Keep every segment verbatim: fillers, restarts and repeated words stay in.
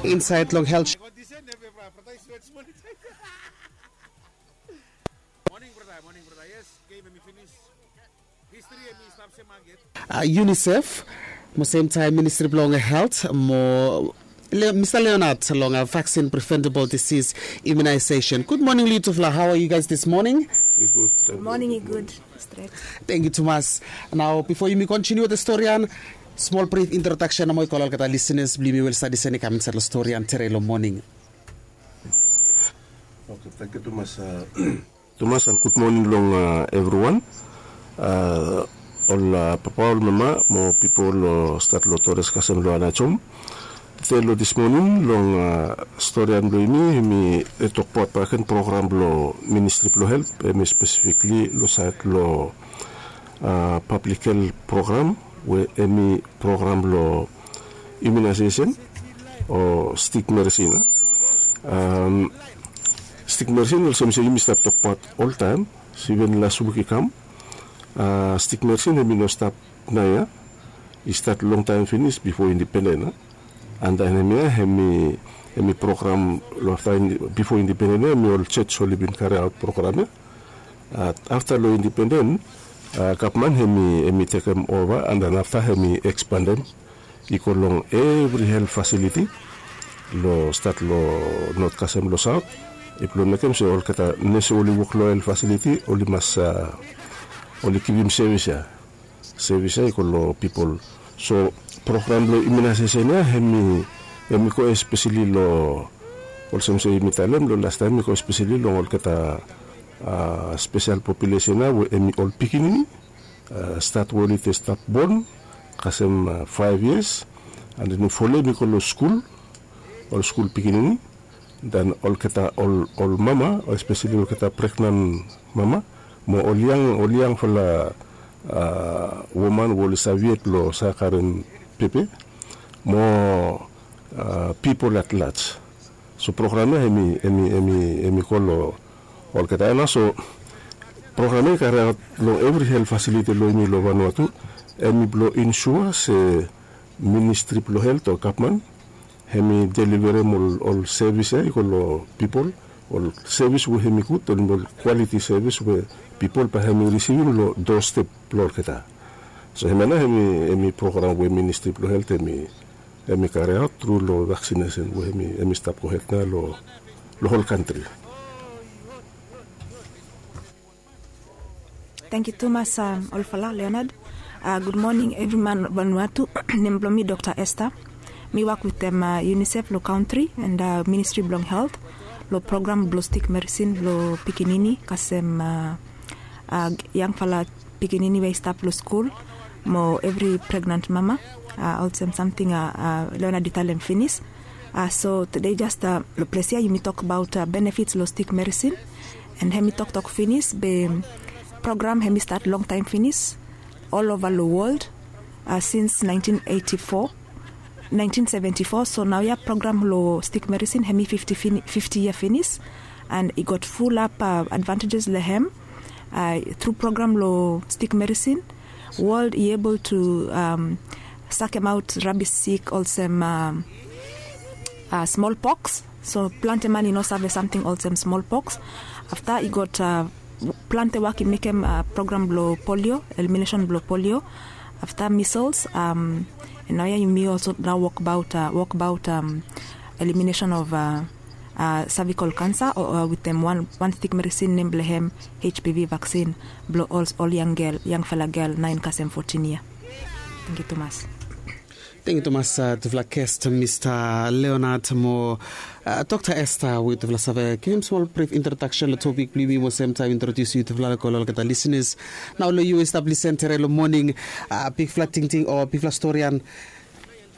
Insaed long health. Unicef mo semtaem Ministri blong Helt mo Mista Leonard long vaksin preventable disis imunaesesen. Gud moning long yutufala. Hao are yu gais dis moning? Moning i gud. Stret. Tengyu tumas. Nao bifo yumi kontiniu wetem storian, smol brif introdaksen nomo i go long olgeta lisenas blong yumi we oli stap lisen i kam insaed long storian tere long moning. Oke, tengyu tumas. Tumas and gud moning long evriwan. Ol papa, ol mama mo pipol long stat long Tores kasem long Anajom. Tede long dis moning long storian blong yumi, yumi tokbaot bakegen program blong Ministri blong Helt, hemi spesifikli long saed long pablik helt program we hemi program blong imunaesesen o stik merisin. Stik merisin olsem se yumi stap tokbaot oltaem, iven las wik i kam. Stik merisin hemi no stap naoia, i stat longtaem finis bifo indipenden. And then hemia hemi, hemi program long afta bifo indipenden ia hemi ol jos oli bin kariaot program ia. Afta long indipenden gavman hemi, hemi tekem ova and then afta hemi ekspandem i go long evri helt fasiliti long stat long not kasem long saot. I blong mekem se olgeta nes we oli wok long helt fasiliti oli mas, oli givim sevis ia. Sevis ia i go long pipol. So program blong imunaesesen ia hemi, hemi go espeseli long, olsem se yumi talem long lastaem, hemi go espeseli long olgeta spesel populesen ia we hemi ol pikinini, stat we oli stap bon kasem faef yias, and then folem i go long skul, ol skul pikinini, then olgeta ol, ol mama, espeseli olgeta pregnan mama mo ol yang, ol yangfala woman we oli save yet blong save karem pepe mo pipol at laj. So program ia hemi, hemi, hemi, hemi go long olgeta ia nao. So program ia i kariaot long evri helt fasiliti long yumi long Vanuatu. Hemi blong insua se Ministri blong Helt o gavman hemi deliverem ol, ol sevis ia i go long pipol, ol sevis we hemi gud, ol kwaliti sevis we pipol bae hemi risivim long dostep blong olgeta. So hemia nao hemi, hemi program we Ministri blong Helt hemi, hemi kariaot tru long vaksinesen we hemi, hemi stap gohed nao long, long hol kantri. Tengyu tumas olfala Leonard. Gud moning evriwan Vanuatu. Nem blong mi Dokta Esther. Mi wok wetem Unicef long kantri and Ministri blong Helt long program blong stik merisin blong pikinini kasem yangfala pikinini we i stap long skul mo evri pregnan mama. Olsem samting Leonard i talem finis. So tede jas long ples ia yumi tokbaot benefits long stik merisin. And hemi toktok finis be program hemi stat longtaem finis olova long wol sins naentin eiti fo, naentin seventi fo. So naoia program long stik merisin hemi fifti yia finis. And i gat fulap advantejes long hem. Tru program long stik merisin, wol i ebol tu sakemaot rabis sik olsem smolpoks. So plante man i no save samting olsem smolpoks. Afta i gat plante wok i mekem program blong polio, eliminesen blong polio. Afta misels. And naoia yumi olso nao wokbaot, wokbaot eliminesen of savikol kansa wetem wan, wan stik merisin nem blong hem H P V vaksin blong ol, ol yang gel, yangfala gel naen kasem fotin yia. Tengyu tumas. Tengyu tumas tufala gest Mista Leonard mo Dokta Esther we tufala save givim smol brif introdaksen long topik blong yumi mo semtaem introdiusim yutufala long olgeta lisenas. Nao long yu we i stap lisen tere long moning, bigfala tingting o bigfala storian.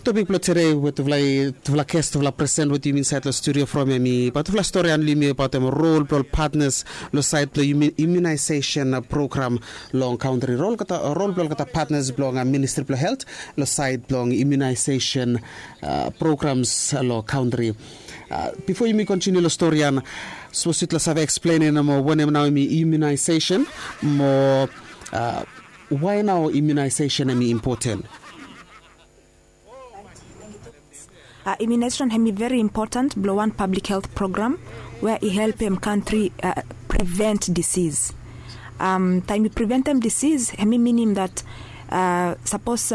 Topik blong tere we tufala, tufala gest, tufala presen wetem yumi insaed long studio from hemi abaot tufala storian long yumi abaot hem rol blong ol patnas long saed blong imunaesesen program long kantri. Rol, rol blong olgeta patnas blong Ministri blong Helt long saed blong imunaesesen programs long kantri. Bifo yumi kontiniu long storian, sapos yutufala save eksplenem wanem nao hemi imunaesesen mo wae nao imunaesesen hemi impoten? Immunization hemi very important blong wan public health program wea i helpem kantri prevent disease. Taem i preventem disease hemi minim dat sapos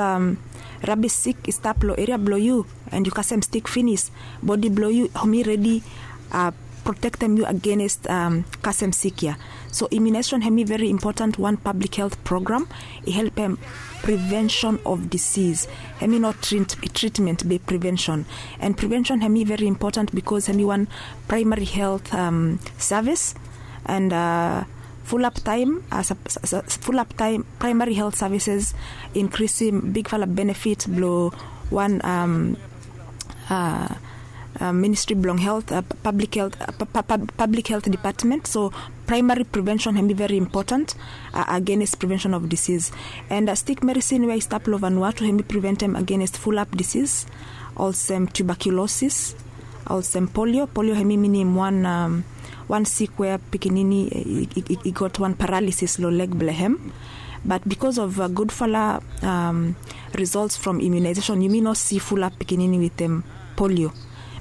rabis sik i stap long eria blong yu and yu kasem stik finis, bodi blong yu hemi redi protektem yu agenest kasem sik ya. So immunization hemi very important wan public health program i helpem prevention of disease. Hemi no treatment be prevention. And prevention hemi very important because hemi wan primary health service and full up time full up time primary health services increasing big fala benefit blong wan ministry blong health public health public health department. So primary prevention hemi very important against prevention of disease. And stik medicine wea i stap long Vanuatu hemi preventem against full up disease olsem tuberculosis olsem polio. Polio hemi minim wan wan sik wea pikinini i got wan paralysis long leg blong hem. But because of gudfala results from immunization yumi no si full up pikinini witem polio.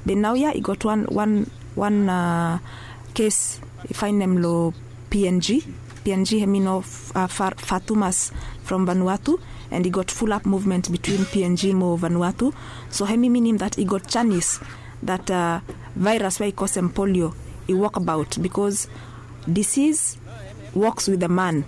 Be naoia i got wan wan wan kes i faenem long PNG. PNG hemi no far tumas from Vanuatu and i got full up movement between PNG mo Vanuatu. So hemi minim dat i got janis dat virus wea i kosem polio i wok abaot because disease woks with a man.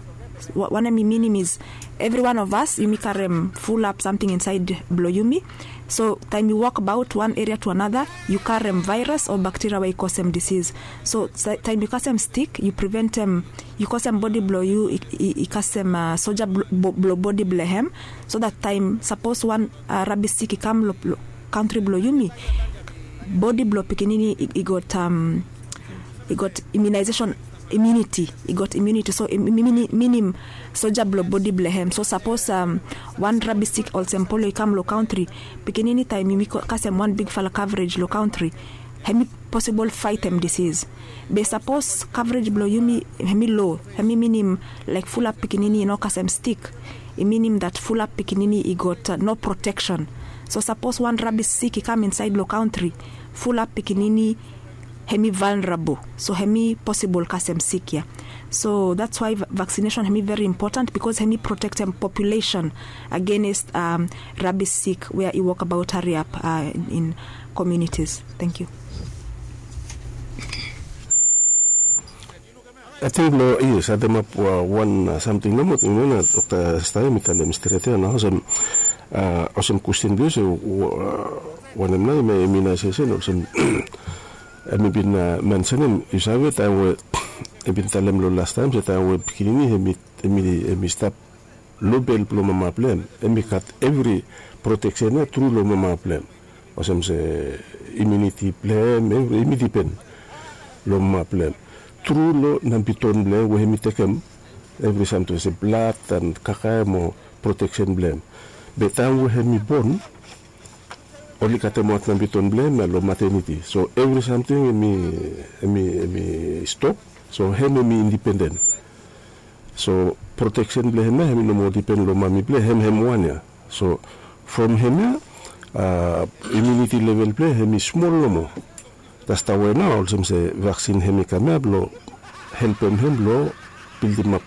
Wan hemi minim is evri wan of as yumi karem full up samting insaed blong yumi. So taem yu wok abaot wan eria tu anata yu karem virus o bakteria wea i kosem disease. So taem yu kasem stik yu preventem yu kosem bodi blong yu i kasem soja blong bodi blong hem. So dat taem sapos wan rabis sik i kam long kantri blong yumi bodi blong pikinini i got i got immunization immunity i got immunity so minim soja blong bodi blong hem. So sapos wan rabis sik olsem polio i kam long kantri pikinini taem yumi kasem wan big fala coverage long kantri hemi posibol faetem disease. Be sapos coverage blong yumi hemi low hemi minim laek full up pikinini i no kasem stik i minim dat full up pikinini i got no proteksen. So sapos wan rabis sik i kam insaed long kantri full up pikinini hemi vulnerable. So hemi posibol kasem sik ya. So dats wai vaccination hemi very important because hemi protektem population agenest rabis sik wea i wok abaot hariap in communities. Thank you. Ating blong yes ademap wan samting nomo ting nao na Dokta Stae mi talem stret ya nao olsem olsem kwesten blong yu se wanem nao i mai immunisation olsem em i bin mensenem yu save taem we i bin talem long lastaem se taem we pikinini em i stap lo bel blong mama blong hem em i gat evri proteksen ya tru long mama blong hem. Olsem se imuniti blong hem evri em i dipen long mama blong hem. Tru long nambiton blong hem we hem i tekem evri samting olsem blad an kakae mo proteksen blong hem. Be taem we hem i bon oli katemaot nambiton blong hem ya long mateniti so evri samting em i em i em i stop. So hem em i indipenden. So proteksen blong hem ya hem i no moa dipen long mami blong hem hem wan ya. So from hem ya imuniti level blong hem i smol nomo. Dats tawe nao olsem se vaksin hem i kam ya blong helpem hem blong bildimap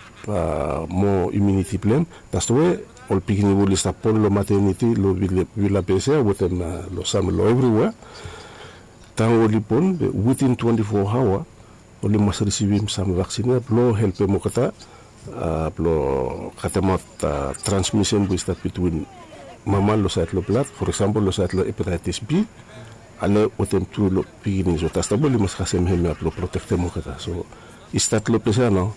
moa imuniti blong hem. Dats tawe ol pikinini we oli stap bon long mateniti long vilabes ya wetem long sam long evriwea. Taem oli bon witin twenti fo aoa oli mas risivim sam vaksin ya blong helpem olgeta blong katemaot transmisen we i stap bitwin mama long saed long blad, for eksampol long saed long hepataitis B ale wetem tu long pikinini. So dats tawe oli mas kasem hem ya blong protektem olgeta. So i stat long ples ya nao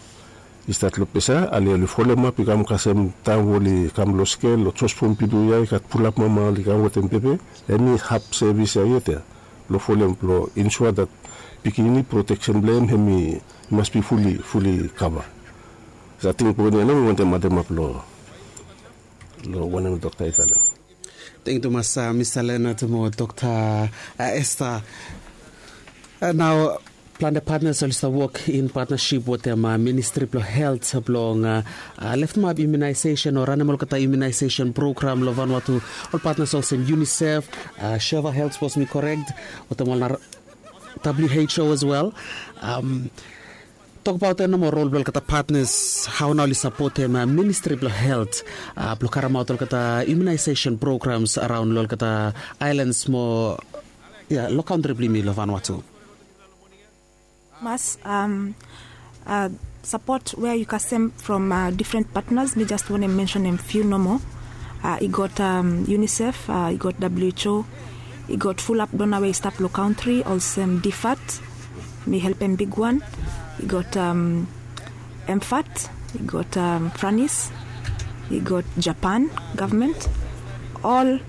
i stat long ples ya ale oli folemap i kam kasem taem we oli kam long skel long josfom pidu ya i gat pulap mama oli kam wetem pepe. Hem i hap sevis ya yet ya blong folem blong insua dat pikinini proteksen blong hem hem i mas bi fuli fuli kava. Sating poen ya nao mi wantem ademap long long wanem dokta i talem. Tengyu tumas mista lenat mo dokta esta. Nao Plante patnas oli stap wok in patnasip wetem ministri blong helt blong leftemap imunaisesen o ranem olgeta imunaisesen program long Vanuatu. Ol patnas olsem UNICEF, Sheva Health, sapos mi korek, wetem ol na W H O as well. Tokbaot ya nomo rol blong olgeta patnas, hao nao oli sapotem ministri blong helt blong karemaot olgeta imunaisesen programs araon long olgeta aelans mo ya long kantri blong yumi long Vanuatu. Mas, sapot we yu kasem from difren patnas, mi jas wantem mensenem fiu nomo. I gat UNICEF, i gat W H O, i gat fulap dona we i stap long kantri olsem DFAT, mi helpem bigwan. I gat MFAT, i gat Franis, i gat Japan gavmen. Ol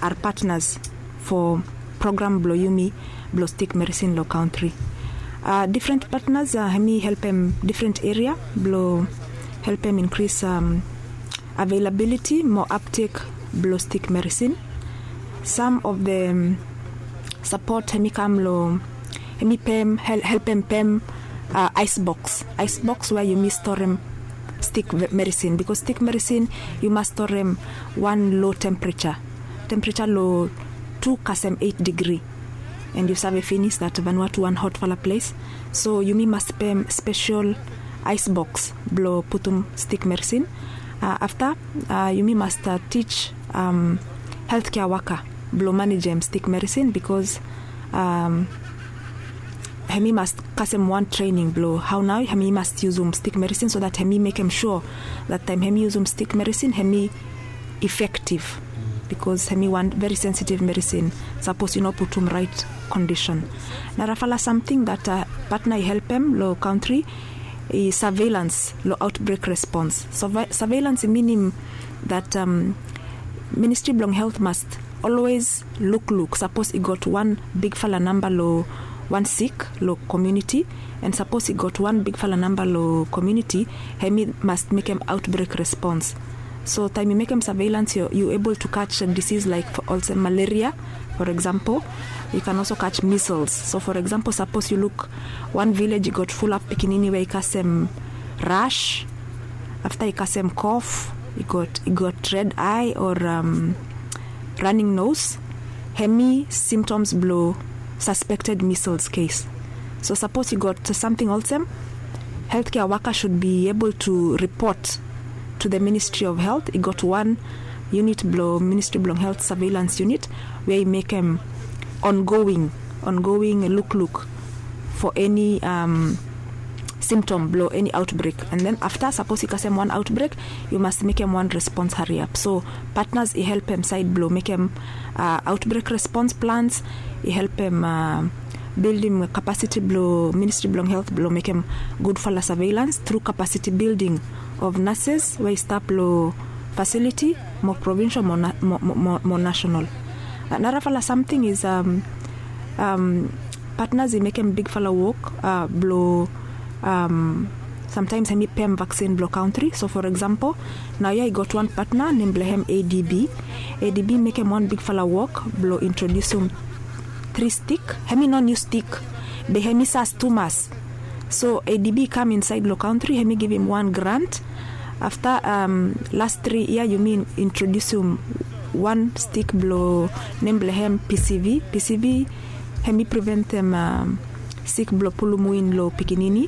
are patnas fo program blong yumi blong stik merisin long kantri. Difren patnas hemi helpem difren eria blong helpem inkris avelabiliti mo aptek blong stik merisin. Sam of the sapot hemi kam long, hemi pem, helpem pem aes boks. Aes boks we yumi storem stik merisin, bikos stik merisin yu mas storem wan lo tempereja, tempereja long tu kasem eit digri. And yu save finis dat Vanuatu wan hotfala ples. So yumi mas pem spesel aes boks blong putum stik merisin. Afta yumi mas tij heltkea waka blong manejem stik merisin, bikos hemi mas kasem wan trening blong hao nao hemi mas yusum stik merisin, so dat hemi mekem sua dat taem hemi yusum stik merisin hemi efektiv, bikos hemi wan veri sensitiv merisin sapos yu no putum raet kondisen. Narafala samting dat patna i helpem long kantri i saveilans long aotbrek respons. Saveilans i minim dat ministri blong helt mas olwes lukluk sapos i gat wan bigfala namba long wan sik long komuniti, and sapos i gat wan bigfala namba long komuniti, hemi mas mekem aotbrek respons. So taem yu mekem saveilans yu ebol tu kaj disis laek olsem malaria, for example, yu kan olso kaj misels. So for example, sapos yu luk wan vilej i gat fulap pikinini we i kasem ras, afta i kasem kof, i gat red ae o raning nos, hemi simtoms blong saspekted misels kes. So sapos i gat samting olsem, heltkea waka sud bi ebol tu ripot tu the Ministry of Health. I gat wan yunit blong ministri blong helt, saveilans yunit, we i mekem ongoing, ongoing lukluk fo eni simtom blong eni aotbrek. And then afta sapos i kasem wan aotbrek, yu mas mekem wan respons hariap. So patnas i helpem saed blong mekem aotbrek respons plans, i helpem bildim kapasiti blong ministri blong helt blong mekem gudfala saveilans tru kapasiti bilding of nases we i stap long fasiliti mo provinsel mo nasenal. Narafala samting is patnas i mekem bigfala wok blong samtaems hemi pem vaksin blong kantri. So for example, naoia i gat wan patna nem blong hem ADB. ADB mekem wan bigfala wok blong introdiusim tri stik. Hemi no niu stik, be hemi sas tumas. So ADB i kam insaed long kantri, hemi givim wan grant. Afta las tri yia yumi introdiusim wan stik blong nem blong hem PCV. PCV hemi priventem sik blong pulum win long pikinini.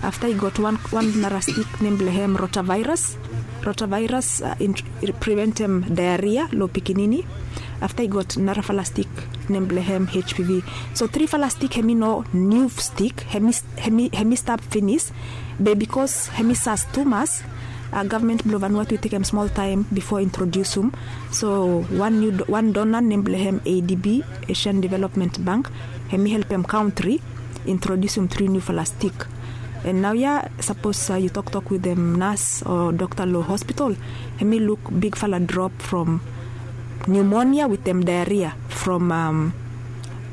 Afta i gat wan nara stik nem blong hem rotavairas. Rotavairas i priventem daeria long pikinini. Afta i gat narafala stik nem blong hem HPV. So trifala stik hemi no niu stik, hemi stap finis. Be bikos hemi sas tumas, gavmen blong Vanuatu i tekem smol taem bifo introdiusim. So wan dona nem blong hem ADB, Asian Development Bank, hemi helpem kantri introdiusim tri niufala stik. And naoia sapos yu toktok wetem nas o dokta long hospital, hemi luk bigfala drop from niumonia wetem daeria from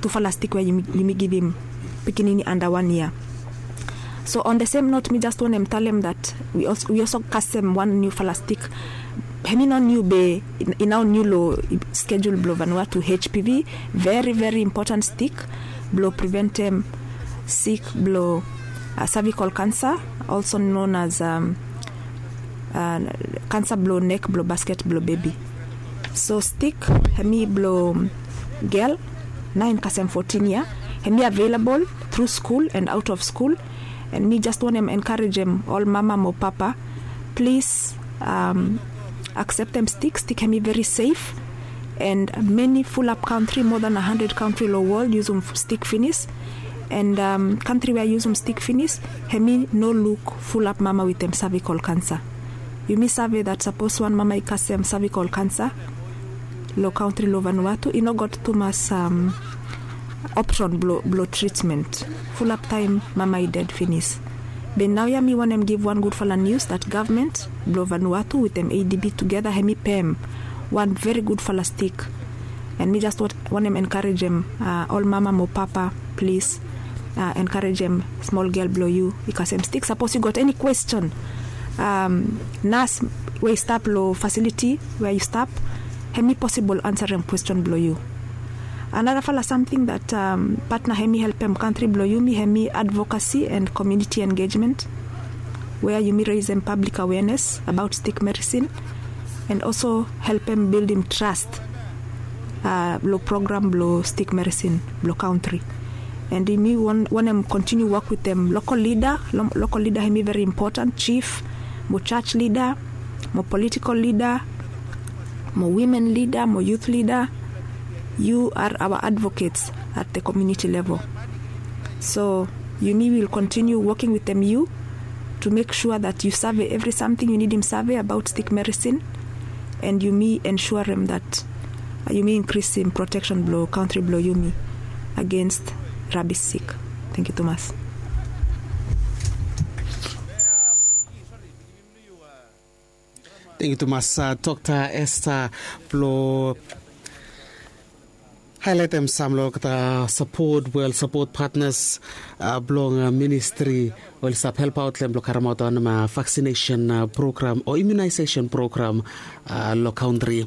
tufala stik we yumi givim pikinini anda wan yia. So on the same note, mi jas wantem talem dat wi olso kasem wan niufala stik. Hemi no niu be i nao niu long schedule blong Vanuatu, HPV, veri veri impoten stik blong priventem sik blong cervical cancer, also known as cancer blong nek blong basket blong bebi. So stik hemi blong gel naen kasem fotin yia, hemi available tru skul and aot of skul. And mi jes wantem enkarejem ol mama mo papa, plis akseptem stik. Stik hemi veri sef. And meni fulap kantri, moa dan a handred kantri long wol yusum stik finis. And kantri we i yusum stik finis, hemi no luk fulap mama wetem cervical cancer. Yumi save dat sapos wan mama i kasem cervical cancer long kantri long Vanuatu, i no gat tumas opsen blong tritmen. Fulap taem mama i ded finis. Be naoia mi wantem givim wan gudfala nius dat gavman blong Vanuatu wetem ADB tugeta hemi pem wan veri gudfala stik. And mi jes wantem enkarejem ol mama mo papa, plis enkarejem smol gel blong yu i kasem stik. Sapos yu gat eni kwesten, nas we i stap long fasiliti we yu stap, hemi posibol ansarem kwesten blong yu. Anarafala samting dat patna hemi helpem kantri blong yumi hemi advokasi and komuniti engejmen, wea yumi resem pablik awenes abaot stik merisin, and also helpem bildim tras long program blong stik merisin blong kantri. And yumi wantem kontiniu wok wetem lokol lida. Lokol lida hemi veri impoten, jif mo jaj lida mo politikol lida mo wimen lida mo yut lida. Yu are aoa advokets at the komuniti level. So yumi wil kontiniu woking wetem yu tu mek sua dat yu save evri samting yu nidim save abaot stik merisin. And yumi ensuarem dat yumi inkrisim proteksen blong kantri blong yumi agens rabis sik. Tengiu tumas. Tengiu tumas Dokta Esther blong haelaetem sam long olgeta sapot we ol sapot patnas blong ministri oli stap helpaot long hem blong karemaot wanem vaksinesen program o imunaesesen program long kantri.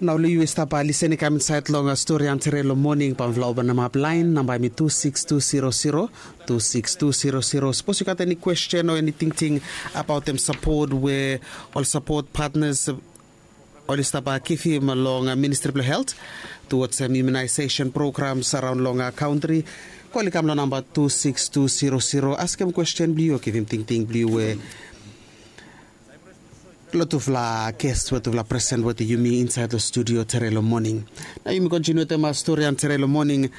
Nao long yu we yu stap lisin i kam insaed long stori Antere long moning, bae mifala opnamap laen namba hemi tu siks tu zero zero, tu siks tu zero zero. Sapos yu gat eni kwesten o eni tingting abaotem sapot we ol sapot patnas oli stap givim long Ministri blong Helt tuwaj hem imunaesesen programs araon long kantri, kol i kam long namba tu siks tu zero zero, askem kwesten blong yu o givim tingting blong yu we long tufala ges we tufala presen wetem yumi insaed long studio tere long moning. Nao yumi kontiniu wetem stori Antere long moning.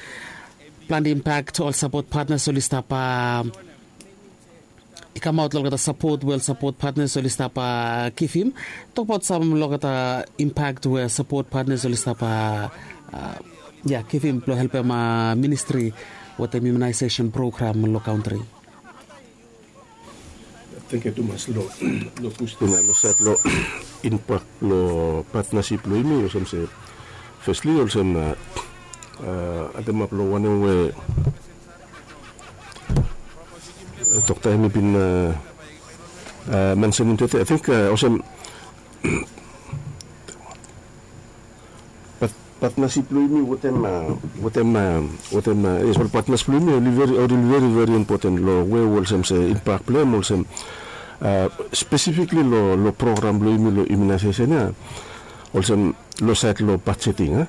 Plante impak ol sapot patnas oli stap i kamaot long olgeta sapot we ol sapot patnas oli stap givim. Tokbaot sam long olgeta impak we sapot patnas oli stap, ya, givim blong helpem ministri wetem imunaesesen program long kantri. Tengiu tumas long kwesten ya long saed long impak blong patnasip blong yumi, olsem se fesli olsem ademap long wanem we Dokta hemi bin mensenim tede, ating olsem patnasip blong yumi wetem, wetem, wetem, yes, ol patnas blong yumi oli veri, oli veri, veri impoten long we olsem se impak blong hem olsem spesifikli long, long program blong yumi long imunaesesen ya, olsem long saed long bajeting, a,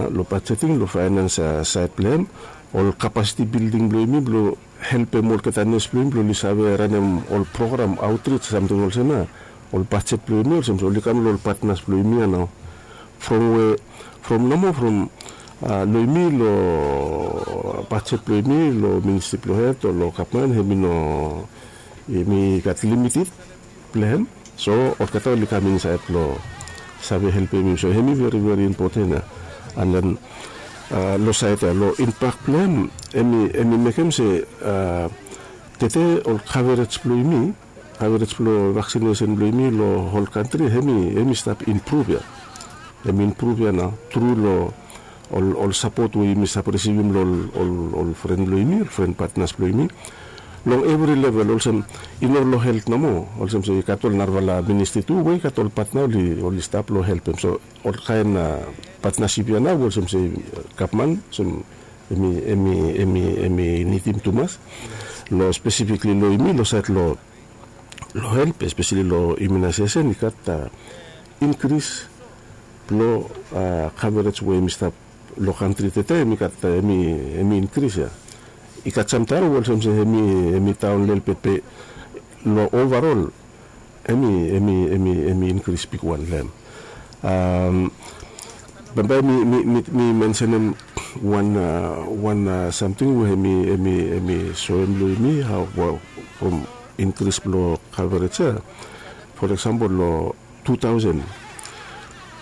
long bajeting, long faenans saed blong hem, ol kapasiti bilding blong yumi blong helpem olgeta nes blong yumi blong oli save ranem ol program, aotrij, samting olsem ya. Ol bajet blong yumi olsem se oli kam long ol patnas blong yumi ya nao. From we, from nomo from long yumi long bajet blong yumi long Ministri blong Helt o long gavman, hemi no, hemi gat limited blong hem. So olgeta oli kam insaed blong save helpem yumi. So hemi veri, veri impoten ya. And then long saed ya long impak blong hem, hemi, hemi mekem se tede ol kaverej blong yumi, kaverej blong vaksinesen blong yumi long hol kantri, hemi, hemi stap impruv ya. Hemi impruv ya nao tru long ol, ol sapot we yumi stap risivim long ol, ol, ol fren blong yumi, ol fren patnas blong yumi. Long evri level, olsem i no long helt nomo, olsem se i gat ol narafala ministri tu we i gat ol patna oli, oli stap long helpem. So ol kaen patnasip ya nao olsem se gavman, olsem Em i em i em i em i nidim tumas long spesifikli long yumi long sait long long help espeseli long imunaisesen i gat inkris blong kaverij we em i stap long kantri tete em i gat em i inkris ya. I gat samtaem we olsem se em i em i daon lelebet be long ovarol em i em i em i em i inkris bigwan long em. Bambae mi mi mi mi mensenem wan a wan a samting we em i em i em i soem long yumi hao from inkris blong kaverij ya. For eksempel long two thousand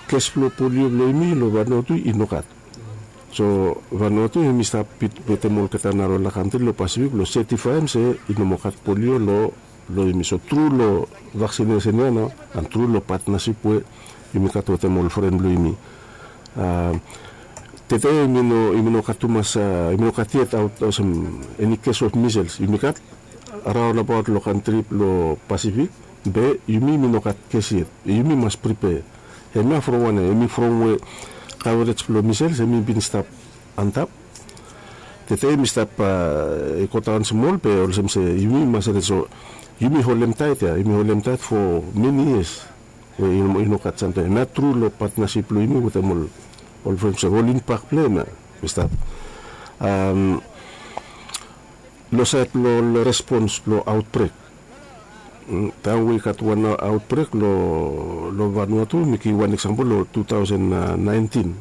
kes blong polio blong yumi long Vanuatu i no gat. So Vanuatu em i stap bit wetem olgeta narafala kantri long Pasifik blong setifaem se i no moa gat polio long long yumi. So tru long vaksinesen ya nao an tru long patnasip we yumi gat wetem ol fren blong yumi. Tete yumi no yumi no gat tumas yumi no gat yet aot olsem eni kes of misels yumi gat raonabaot long kantri blong Pasifik. Be yumi yumi no gat kes yet. Yumi mas pripea. Hemia from wanem? Hemi from we kaverij blong misels hemi bin stap antap. Tete yumi stap i godaon smol be olsem se yumi mas redi so yumi holem taet ya yumi holem taet fo meni yias. We i no gat samtaem hemia tru long patnasip blong yumi wetem ol ol fren se ol inpak blong hemia. I stap long sait blong respons blong aotbrek. Taem we i gat wan aotbrek long Vanuatu mi givim wan eksampel long two thousand nineteen.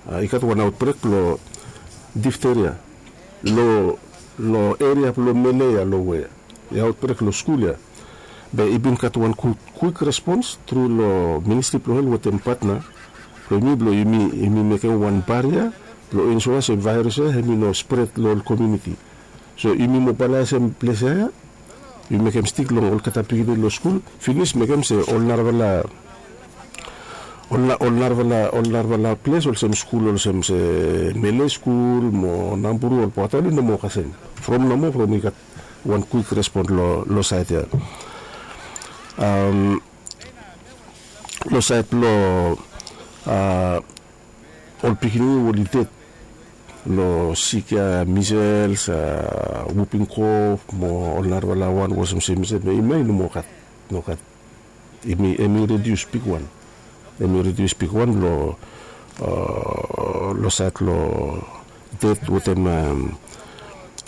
I gat wan aotbrek blong difteria long eria blong mele ya long we i aotbrek long skul ya. Be i bin gat wan kwik respons tru long ministri blong hel wetem patna blong yumi blong yumi mekem wan baria blong ensua se vaeros ya hem i no spret long ol komiuniti. So yumi mobalaesem ples ya ya yumi mekem stik long olgeta pikinini long skul finis mekem se ol narafala ol narafala ol narafala ples olsem skul olsem se mele skul mo namburu ol bata oli no moa kasem. From nomo from i gat wan kwik respon long sait ya. Long sait blong ol pikinini we oli ded long sik ya misels wuping kof mo ol narafala wan we olsem se misels be i mai no moa gat no gat. Em i redius bigwan. Em i redius bigwan long long sait long ded wetem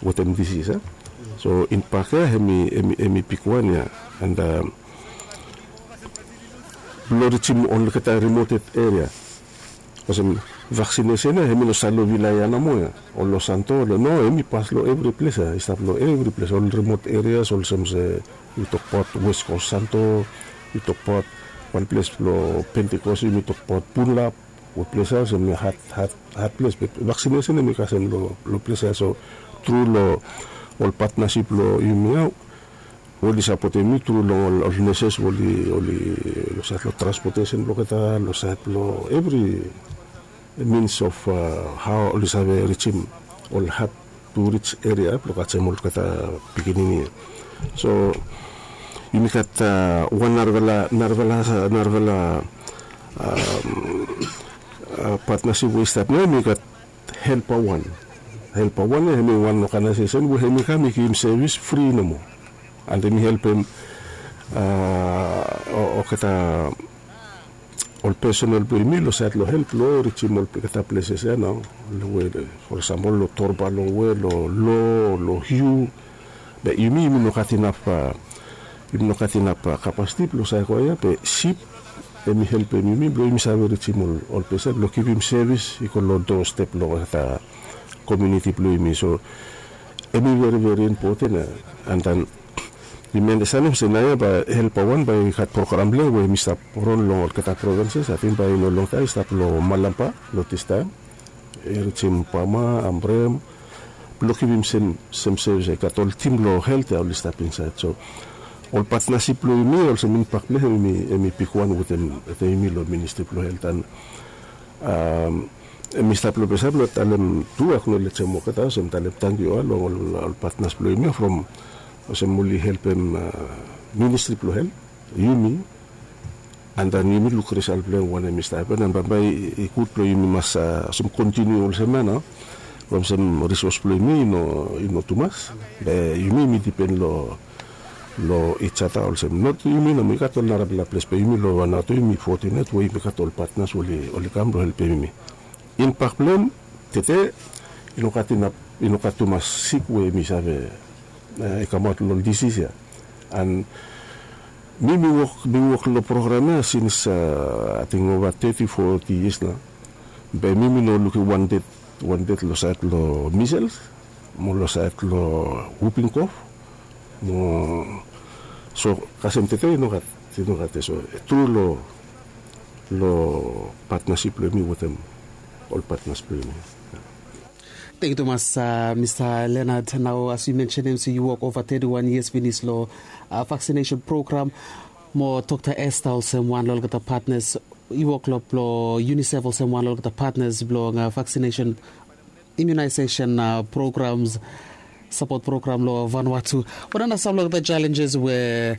wetem disis a. So inpak ya em i em i bigwan ya. And blong rijim olgeta rimoted eria olsem vaksinesen ya hem i no save long vilai ya nomo ya. Ol long santo no hem i pas long evri ples ya i stap long evri ples ol rimot erias olsem se yu tokbaot west kos santo yu tokbaot wan ples blong pentikos yumi tokbaot punlap. Ol ples ya olsem hat hat hat ples be vaksinesen hem i kasem long ples ya so tru long ol patnasip blong yumi ya. Oli sapotem mi tru long ol neses oli oli long sait long transpotesen blong olgeta long sait long evri mins of hao oli save rijim ol hat tu rij eria blong kasem olgeta pikinini ya. So yumi gat wan narafala narafala narafala patnasip we i stap nao yumi gat helpa wan. Helpa wan ya hem i wan oganaesesen we hem i kam i givim sevis fri nomo. And hem i helpem olgeta ol pesonel blong yumi long sait long help long rijim olgeta pleses ya nao. We for eksempel long torba long we long lo long hiu be yumi yumi no gat inap yumi no gat inap kapasiti blong saekoa ya be sip hem i helpem yumi blong yumi save rijim ol ples ya blong givim sevis i go long doastep long olgeta komiuniti blong yumi. So hem i veri veri impoten ya. And then yumi andastanem se naoia bae helpa wan bae i gat program blong hem we hem i stap ron long olgeta provenses ating bae i no longtaem i stap long malamba long distaem. I rijim bama ambrem blong givim sem sevis i gat ol tim blong helt ya oli stap insaed so ol patnasip blong yumi olsem inpak blong hem hem i bigwan wetem yumi long ministri blong helt an hem i stap long ples ya blong talem tu aknolejem olgeta olsem talem tangkiu ya long ol patnas blong yumi ya from olsem oli helpem ministri blong helt yumi. Andan yumi luk risal blong hem wanem i stap hapen an bambae i gud blong yumi mas olsem kontiniu olsem ya nao. Olsem risos blong yumi i no tumas, be yumi mi dipen long long ijata olsem not yumi nomo i gat ol narapela ples be yumi long vanatu yumi fotinet we yumi gat ol patnas we oli kam blong helpem yumi. In pak blong em tete i no gat inap i no gat tumas sik we yumi save i kamaot long ol disis ya. An mi mi wok mi wok long program ya sins ating ova teti foti yias nao. Be mi mi no lukim wan ded wan ded long saed long misels mo long saed long wuping kof. Mo so kasem tete i no gat i no gat ya so tru long long patnasip blong yumi wetem ol patnas blong yumi. Tengkiu tumas mista lenard. Nao as yu mensenim se yu wok ova teti wan yias finis long vaksinesen program mo dokta esta olsem wan long olgeta patnas. Yu wok long blong unisef olsem wan long olgeta patnas blong vaksinesen imunaisesen programs sapot program long vanua tu. Wanem na sam long olgeta jalenjes we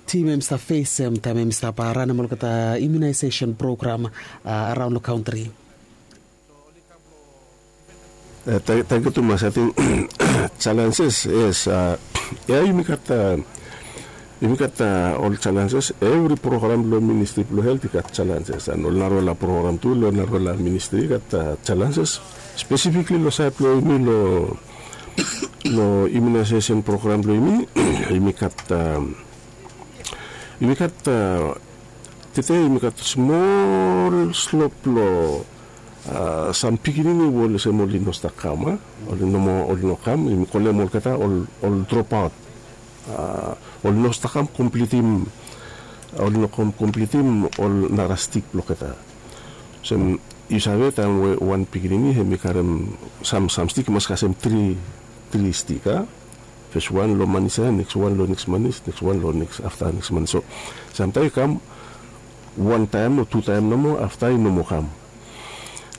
tim em i stap fesem taem em i stap ranem olgeta imunaisesen program araon long kantri? Tangkiu tumas ating jalenjes yes. Ya yumi gat yumi gat ol jalenjes evri program blong ministri blong helt i gat jalenjes an ol narwala program tu long narwala ministri i gat jalenjes. Spesifikli long saed blong yumi long long imunaisesen program blong yumi yumi gat yumi gat tete yumi gat smol slop long sam pikinini we olsem oli no stap kam a oli no moa oli no kam yumi kolem olgeta ol dropaot. Oli no stap kam komplitim oli no kam komplitim ol nara stik blong olgeta. Olsem yu save taem we wan pikinini hem i karem sam sam stik i mas kasem tri tri stik a fes wan long manis ya neks wan long neks manis neks wan long neks afta neks manis so samtaem i kam wan taem o tu taem nomo afta i no moa kam.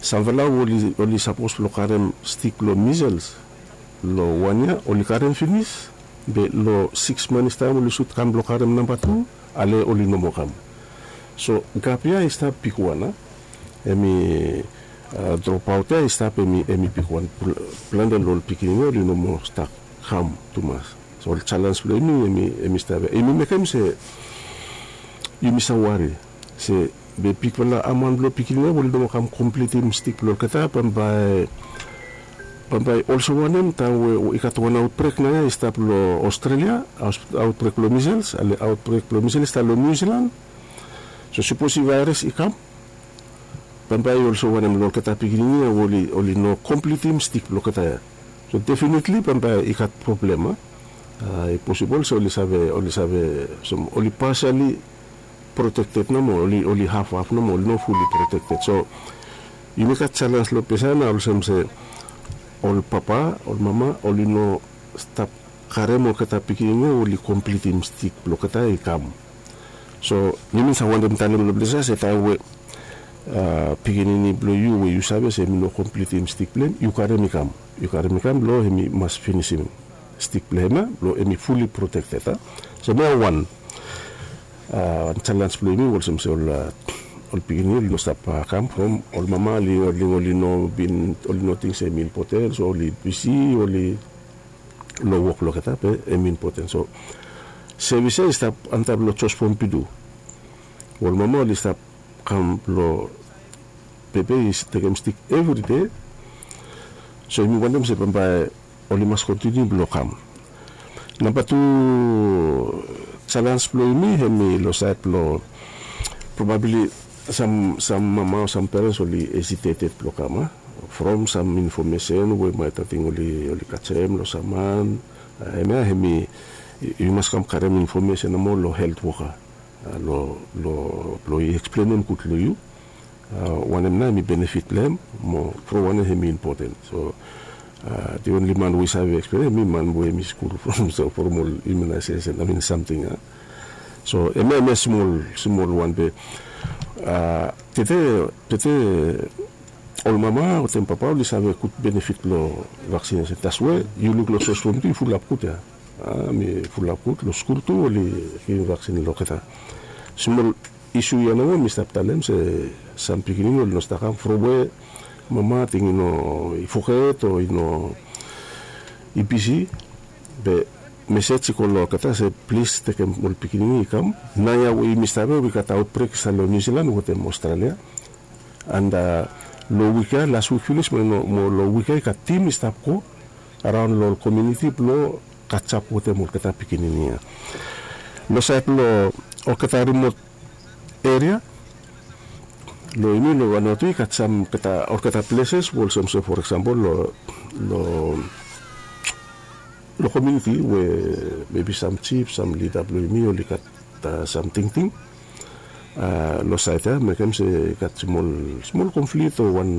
Samfala oli sapos blong karem stik blong misels long wan yia oli karem finis be long siks manis taem oli sut kam blong karem namba tu ale oli no moa kam. So gap ya i stap bigwan a em i dropaot ya i stap em i bigwan. Plante long ol pikinini oli no moa stap kam tumas. So ol jalens blong yumi em i stap ya yumi mekem se yumi save wari se be bigfala amaon blong pikinini ya we oli no moa kam komplitim stik blong olgeta bambae bambae olsem wanem taem we i gat wan aotbrek nao ya i stap long australia. Aotbrek blong misels ale aotbrek blong misels i stap long niu silan. So sapos i vaeras i kam bambae i olsem wanem long olgeta pikinini ya we oli no komplitim stik blong olgeta ya. So definitli bambae i gat problem a i posibol se oli save oli save oli pasiali protekted nomo oli hafhaf nomo oli no fuli protekted so yumi gat jalens long ples ya na olsem se ol papa ol mama oli no stap karem olgeta pikinini ya oli komplitim stik blong olgeta i kam. So yumi save wantem talem long ples ya se taem we pikinini blong yu we yu save se mi no komplitim stik blong em yu karem i kam yu karem i kam blong em i mas finisim stik blong em ya blong em i fuli protekted a. So mi ya wan jalens blong yumi olsem se ol pikinini oli no stap kam from ol mama oli oli no bin oli no ting se em i impoten so oli bisi oli long wok blong olgeta be em i impoten so sevis ya i stap antap long jos fom pitu. Ol mama oli stap kam long pepe i tekem stik evride. So yumi wantem se bambae oli mas kontiniu blong kam. Namba tu jalens blong yumi hem i long saed blong probabli sam mama o sam perens oli esiteted blong kam a from sam infomesen we maet ating oli kasem long sam man. Hemia hemi yu mas kam karem infomesen nomo long helt woka long blong i eksplenem gud long yu. Wanem nao hemi benefit blong hem mo from wanem hemi impoten so the onli man we i save eksplenem hemi man we hemi skul from so from ol imunaisesen amin samting a. So hemia hemia smol smol wan be tete tete ol mama wetem papa oli save gud benefit long vaksinesen taswe yu luk long sos from tu i fulap gud ya. Mi fulap gud long skul tu oli givim vaksin long olgeta. Smol isu ya nomo mi stap talem se sam pikinini oli no stap kam from we Mama ating i no i foget o i no i bisi, be mesej i go long olgeta se plis tekem ol pikinini i kam. Naoia we yumi save we i gat aotbrek i stap long Niu Silan wetem Australia. And long wik ya, las wik finis mo long wik ya i gat tim i stap go araon long ol komuniti blong katjap wetem olgeta pikinini ya. Long sait blong olgeta rimot eria, long yumi long Vanuatu i gat sam olgeta pleses we olsem se, for example, long long komuniti we mebi sam jif, sam lida blong yumi oli gat sam tingting long sait ya, mekem se i gat smol smol konflik o wan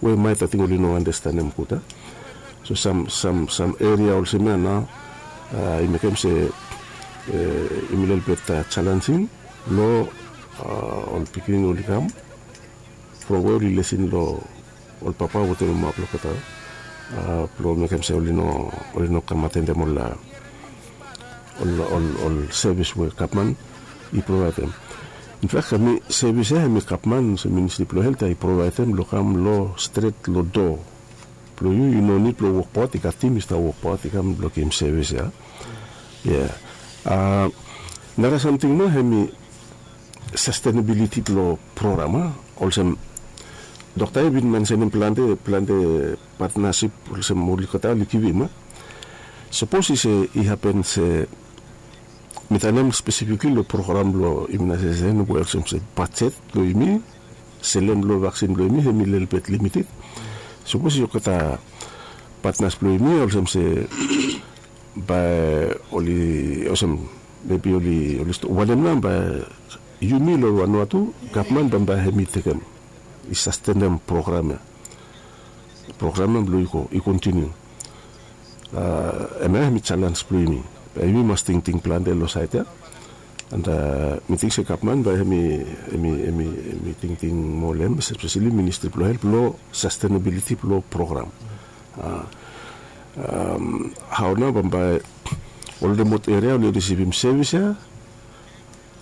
we maet ating oli no anastenem gud ya. So sam sam sam eria olsem ya nao i mekem se i mi lelebet jalenjing long ol pikinini oli kam from we oli lesin long ol papa wetem mama blong olgeta blong mekem se oli no oli no kam atendem ol ol ol ol sevis we gavman i provaedem. Infak hemi sevis ya hemi gavman olsem ministri blong helt ya i provaedem long kam long stret long doa blong yu, yu no nid blong wokbaot, i gat tim i stap wokbaot i kam blong givim sevis ya. Ia, nara samting nao hemi sastenabiliti blong program a olsem dokta i bin mensenem plante plante patnasip olsem oli gota oli givim a. Sapos i se i hapen se mi talem spesifikli long program blong imunaisesen we olsem se bajet blong yumi selem long vaksin blong yumi hemi lelebet limited. Sapos i olgeta patnas blong yumi olsem se bae oli olsem mebi oli oli wanem nao bae yumi long Vanuatu gavman bambae hemi tekem i sastenem program ya. Program ya blong i go i kontiniu. Hemia hemi jalens blong yumi. Bae yumi mas tingting plante long sait ya. And mi ting se gavman bae hemi hemi hemi hemi tingting moa long hem, espeseli ministri blong helt blong sastenabiliti blong program. Hao nao bambae ol rimot eria oli risivim sevis ya.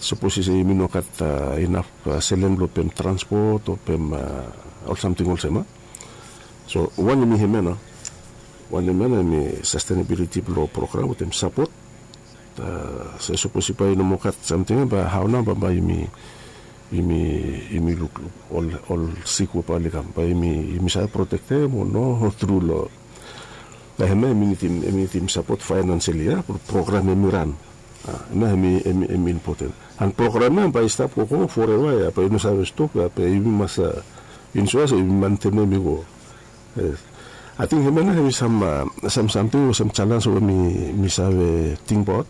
Sapos i se yumi no gat inaf selem blong pem transpot o pem ol samting olsem a. So wanem i hemia nao? Wanem ya nao hemi sastenabiliti blong program wetem sapot. Se sapos i bae i no moa gat samting ya bae hao nao bambae yumi yumi yumi lukluk ol ol sik we bae oli kam bae yumi yumi save protektem o no tru long. Bae hemia hemi nidim hemi nidim sapot faenanseli ya blong program hemi ran. Hemia hemi hemi impoten. And program ya bae i stap gogo foreva ya, bae i no save stop ya, bae yumi mas insua se yumi mantenem i go. Ating hemia nao hemi sam sam samting olsem jalens we mi mi save tingbaot.